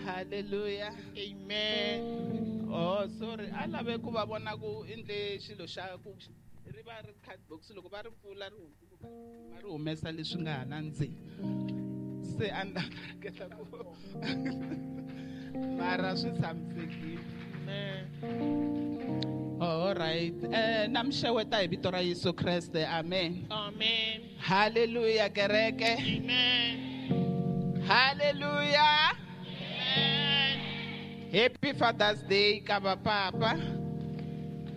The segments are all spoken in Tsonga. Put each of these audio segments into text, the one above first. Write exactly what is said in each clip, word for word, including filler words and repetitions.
Hallelujah. Amen. Oh, sorry. A lave ku va vona ku endle xilo xa ku ri va ri card box loko va ri pfula ri va ri humesa leswi nga hala ndzeni. Se a ni hleketa ku mara swi tshamisekile. Amen. All right. Eh na mi xeweta hi vito ra Yesu Kreste. Amen. Amen. Hallelujah kereke. Amen. Hallelujah. Amen. Happy Father's Day ka va papa.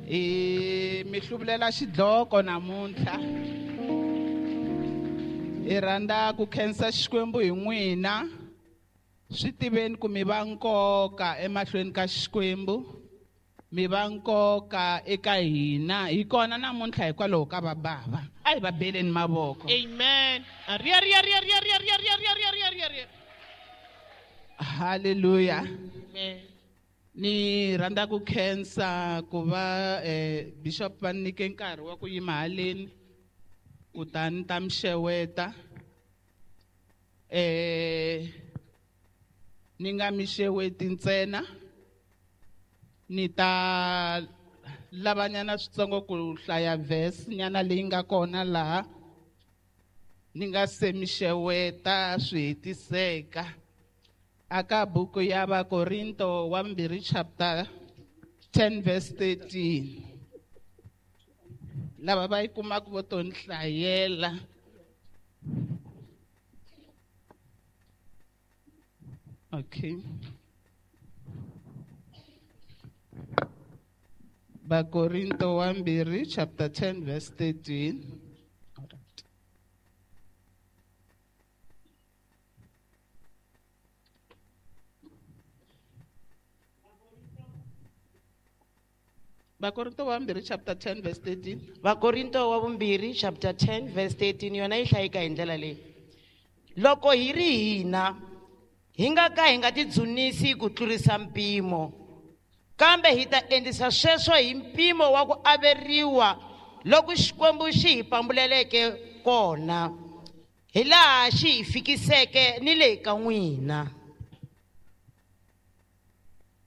Eh mi hluvulela xidloko namuntlha. Hi rhandza ku khensa Xikwembu hi n'wina. Swi tiveni ku mi va nkoka emahlweni ka Xikwembu. Mi va nkoka eka hina. Hi kona namuntlha hikwalaho ka va bava. A hi va beleni mavoko. Amen. Ria ria ria ria ria ria ria ria ria ria ria. Hallelujah. Amen. Ni rhandza ku khensa ku va eh Bishop va nyike nkarhi wa ku yima haleni kutani ta mi xeweta. Eh ni nga mi xeweti ntsena, ni ta lavanyana switsongo ku hlaya verse nyana leyi nga kona laha ni nga se mi xeweta swi hetiseka. Aka buku ya Vakorinto wa mbirhi chapter ten verse thirteen. Lava va yi kumaka vo to ni hlayela. Okay. Vakorinto wa mbirhi chapter ten verse thirteen. All right. Vakorinto wa mbirhi chapter ten verse thirteen. Vakorinto wa vumbirhi chapter ten verse thirteen yona yi hlayeka hi ndlela leyi. Loko hi ri hina hi nga ka hi nga tidzunisi ku tlurisa mpimo, kambe hi ta endlisa sweswo hi mpimo wa ku averiwa loko Xikwembu xi hi pambuleleke kona, hi laha xi hi fikiseke ni le ka n'wina.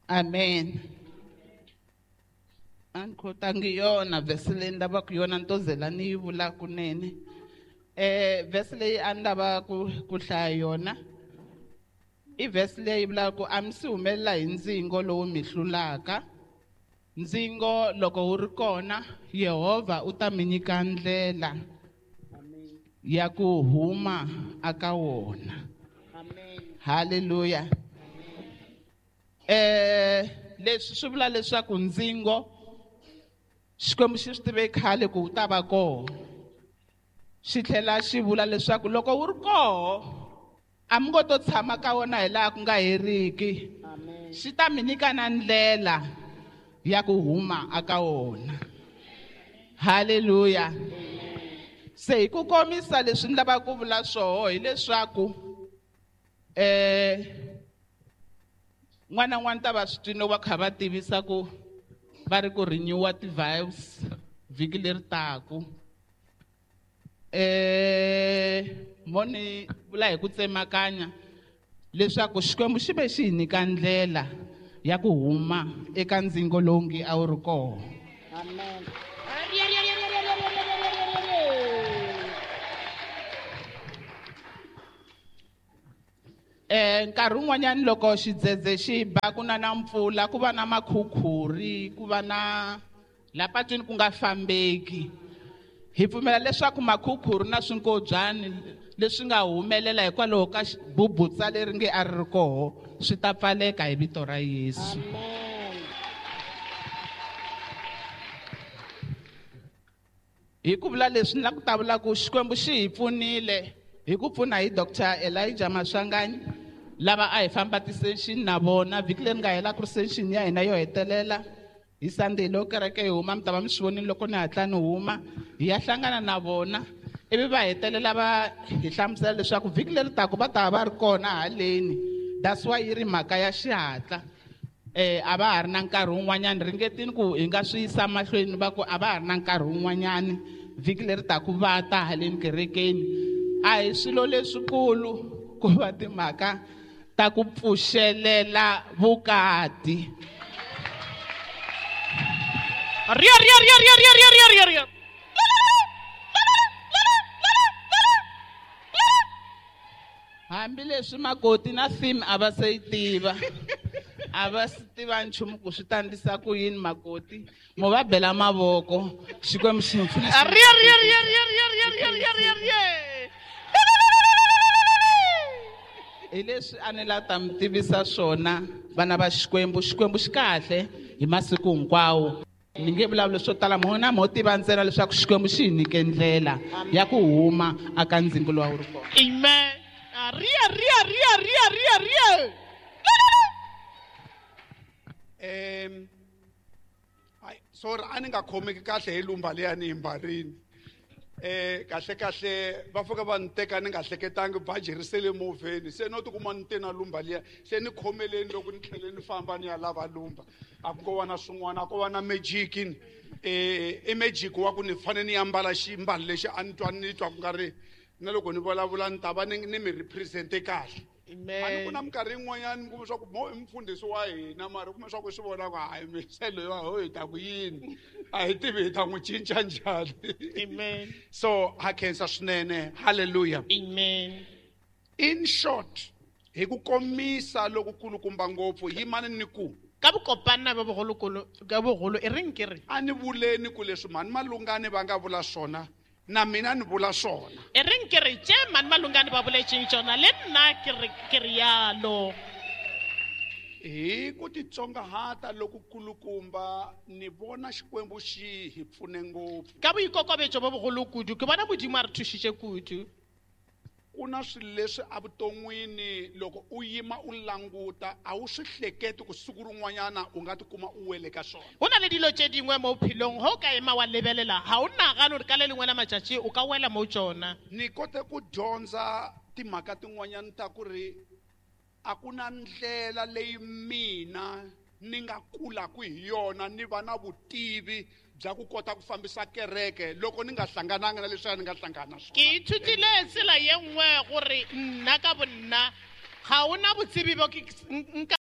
Amen. A ni khotangi yona verse leyi ni lavaka yona ni to zela ni yi vula kunene. Eh verse leyi a ni lava ku ku hlaya yona i verse leyi vulaka ku a mi si humelela hi ndzingo lowu mi hlulaka. Ndzingo loko wu ri kona, Yehovha u ta mi nyika ndlela ya ku huma aka wona. Amen. Hallelujah. Eh leswi swi vula leswaku ndzingo Xikwembu xi swi tive khale ku wu ta va kona. Xi tlhela xi vula leswaku loko wu ri koho a mi ngo to tshama ka wona hi laha ku nga heriki. Amen. Xi ta mi nyika na ndlela ya ku huma aka wona. Hallelujah. Se hi ku komisa leswi ni lavaka ku vula swoho hileswaku eh n'wana n'wana ta va swi twile va kha va tivisa ku va ri ku renewa ti-vibes vhiki leri taku. Eh mo ni vula hi ku tsemakanya leswaku Xikwembu xi ve xi hi nyika ndlela ya ku huma eka ndzingo lowu nge a wu ri kona. Amen. Eh nkarhi wun'wanyani loko xidzedze xi ba ku na na mpfula ku va na makhukhuri ku va na la patwini ku nga fambeki. Hi pfumela leswaku makhukhuri na swinkobyani leswi nga humelela hikwalaho ka bubutsa leri nge a ri ri koho swi ta pfaleka hi vito ra Yesu. Amen. Hi ku vula leswi ni lava ku ta vula ku Xikwembu xi hi pfunile hi ku pfuna hi Doctor Elijah Maswanganyi lava a hi famba ti-session na vona vhiki leri nga hela ku ri session ya hina yo hetelela hi Sunday loko kereke yi huma mi ta va mi swi vonile loko ni hatla ni huma hi ya hlangana na vona ivi va hetelela va hi hlamusela leswaku vhiki leri taka va ta va ri kona haleni. That's why yi ri mhaka ya xihatla. Eh a va ha ri na nkarhi wun'wanyani ringetini ku hi nga swi yisa mahlweni va ku a va ha ri na nkarhi wun'wanyani vhiki leri taka va ta haleni kerekeni. A hi swilo leswikulu ku va timhaka ta ku pfuxelela vukati. Ria ria ria ria ria ria ria ria ria. Hambileswi makoti na theme a va se yi tiva. A va swi tiva nchumu ku swi ta endlisa ku yini makoti. Mo va bela mavoko. Xikwembu xi mi pfuna. Ria ria ria ria ria ria ria ria ria ria. Hi leswi a ni la ta mi tivisa swona vana va Xikwembu. Xikwembu xi kahle hi masiku hinkwawo. Ni nge vulavuli swo tala, mo na mo tiva ntsena leswaku Xikwembu xi hi nyike ndlela ya ku huma aka ndzingo lowu a wu ri kona. Amen. Ria ria ria ria ria ria. Em ai sorry a ni nga khomeki kahle hi lumba leya ni yi mbarini. Eh kahle kahle va fika va ni teka ni nga hleketangi baji ri sele movheni, se no tikuma ni te na lumba liya, se ni khomeleni loko ni tlhele ni famba ni ya lava lumba. A ku ngo va na swin'wana, a ko va na magic ni. Eh i magic wa ku ni fanele ni ambala ximbalo lexi a ni twa ni twa ku nga ri na loko ni vulavula ni ta va ni ni mi represent-e kahle. A ni ku na minkarhi yin'wanyani mi kuma swa ku mo i mufundhisi wa hina, mara u kuma swa ku swi vona ku hayi mise loyiwa ho hi ta ku yini, a hi tivi hi ta n'wi cinca njhani. Amen. So ha khensa swinene. Hallelujah. Amen. In short, hi ku komisa loku kulukumba ngopfu yimani ni ku ka bokopana ba bogolokolo ka bogolo e reng ke re a ni vuleni ku leswi mhani Malungani va nga vula swona na mina ni vula swona. E reng ke re tše mhani Malungani ba boletseng tsona le nna ke re ke rialo. Hi ku titsongahata loku kulukumba ni vona Xikwembu xi hi pfune ngopfu. Ka boikokobetso bo bogolo kudu ke bona Modimo a re thušitše kudu. Ku na swilo leswi evuton'wini loko u yima u languta a wu swi hleketi ku siku rin'wanyana u nga tikuma u wele ka swona. Go na le dilo tše dingwe mo bophelong ge o ka ema wa lebelela ga o nagane gore ka le lengwe la matšatši o ka wela mo tšona. Ni kote ku dyondza timhaka tin'wanyana ta ku ri a ku na ndlela leyi mina ni nga kulaku hi yona ni va na vutivi bya ku kota ku fambisa kereke loko ni nga hlangananga na leswiya ni nga hlangana na swona. Ke ithutile tsela ye nngwe gore nna ka bonna ga ona botsebi bo ke nka